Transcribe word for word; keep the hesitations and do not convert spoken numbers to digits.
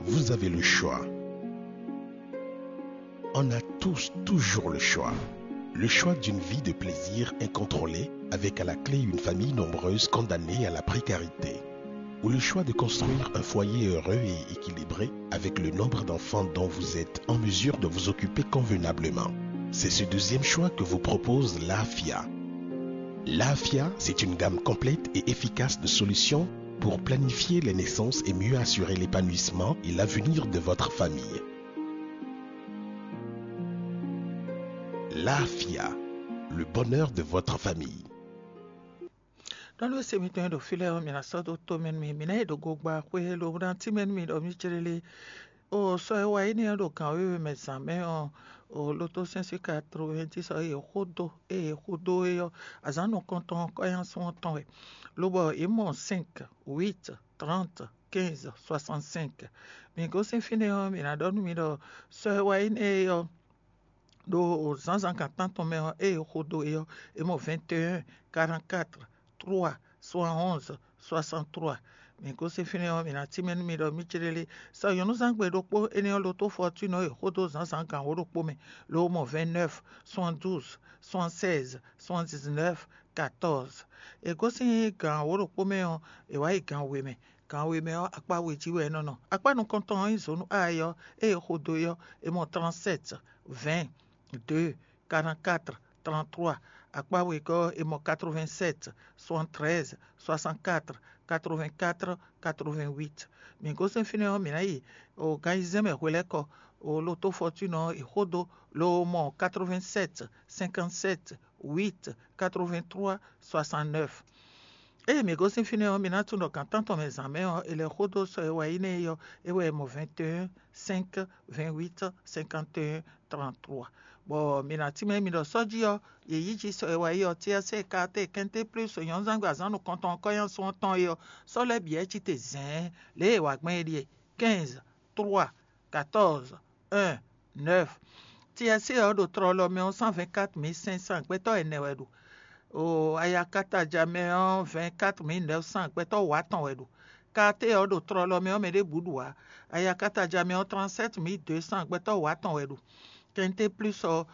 Vous avez le choix. On a tous toujours le choix. Le choix d'une vie de plaisir incontrôlée, avec à la clé une famille nombreuse condamnée à la précarité. Ou le choix de construire un foyer heureux et équilibré avec le nombre d'enfants dont vous êtes en mesure de vous occuper convenablement. C'est ce deuxième choix que vous propose l'AFIA. L'AFIA, c'est une gamme complète et efficace de solutions pour planifier les naissances et mieux assurer l'épanouissement et l'avenir de votre famille. L'AFIA, le bonheur de votre famille. Ɖɔnú e se mitɔn e ɖo fí lɛ́ɛ ɔ́, mi ná sɔ́ dó tó mɛ nú mì. Mi ná yi ɖo gogba xwé e lo ná tínmɛ nú mi ɖɔ mí jlé lé. O sɔ e wá yi nɛ́ ɔ́ ɖo gǎn wěwe mɛ zǎn mɛ ɔ́, o lo tó sɛ́n sí quatre-vingt-dix ɔ́, e xó dó e xó dó é ɔ́, azǎn nukɔntɔn ɔ́ kɔ́ nyá sún ɔ́ tɔn wɛ, lobɔ yě mɔ cinq, huit, trente, quinze, soixante-cinq. Mi gosín fínɛ́ ɔ́, mi ná ɖɔ nú mi ɖɔ sɔ e wá yi nɛ́ é ɔ́, ɖo zǎnzǎn gan tántɔn mɛ ɔ́, ée è xo dó é ɔ́, è mɔ vingt et un, quarante-quatre, trois, soixante-onze, soixante-trois. Mi gosín fínɛ́ ɔ́, mi ná tínmɛ nú mi ɖɔ mí céɖélé. Sɔ nyɔ̌nuzángbe ɖokpó énɛ́ ɔ́, lotó Fortune ɔ́, è xo dó zǎnzǎn gan wǒ ɖokpó mɛ, ló mɔ vingt-neuf, soixante-douze, soixante-seize, soixante-dix-neuf, quatorze. È gosín gan wǒ ɖokpó mɛ ɔ́, è wǎ yi gan we mɛ. Gan we mɛ ɔ́, akpá we jí wɛ é nɔ nɔ. Akpá nukɔntɔn ɔ́ nyí zǒnú A é ɔ́, ée è xo dó é ɔ́, è mɔ trente-sept, vingt, deux, quarante-quatre, trente-trois. Akpá wegɔ́ ɔ́, è mɔ quatre-vingt-sept, soixante-treize, soixante-quatre, quatre-vingt-quatre, quatre-vingt-huit. Mi gosín fínɛ́ ɔ́, mǐ ná yi o gan ayizɛ́n mɛ hwelɛ́kɔ, o lotó Fortune ɔ́, è xo dó, lo mɔ quatre-vingt-sept, cinquante-sept, huit, quatre-vingt-trois, soixante-neuf. Ée mǐ gosín fínɛ́ ɔ́, mi ná tunwun ɖɔ gan tántɔn mɛ zǎn mɛ ɔ́, è lɛ́ xo dó sɔ e wɛ nyí nɛ́ é ɔ́, é wɛ è mɔ vingt et un, cinq, vingt-huit, cinquante et un, trente-trois. Bɔ mi ná tínmɛ mi ɖɔ sɔ́ jí ɔ́, yě yí jí sɔ e wɛ nyí ɔ́, T S C, K T, Quinté Plus, nyɔ̌nuzángbe azǎn nukɔntɔn ɔ́ kɔ́ nyá sún ɔ́ tɔn é ɔ́, sɔ́ lɛ́ bǐ wɛ cí te zɛ̌ɛn. Lě e è wa gbɔn é ɖíe: quinze, trois, quatorze, un, neuf. T S C ɔ́ ɖo tlɔlɔ mɛ ɔ́, cent vingt-quatre mille cinq cents gbɛtɔ́ ɛnɛ wɛ ɖo. O ayakataja mɛ ɔ́, vingt-quatre mille neuf cents gbɛtɔ́ wǒ atɔn wɛ ɖo. K T ɔ́ ɖo tlɔlɔ mɛ ɔ́, mɛ ɖěbǔ ɖu ǎ. Ayakataja mɛ ɔ́, trente-sept mille deux cents gbɛtɔ́ wǒ atɔn wɛ ɖo. Quinté Plus ɔ́,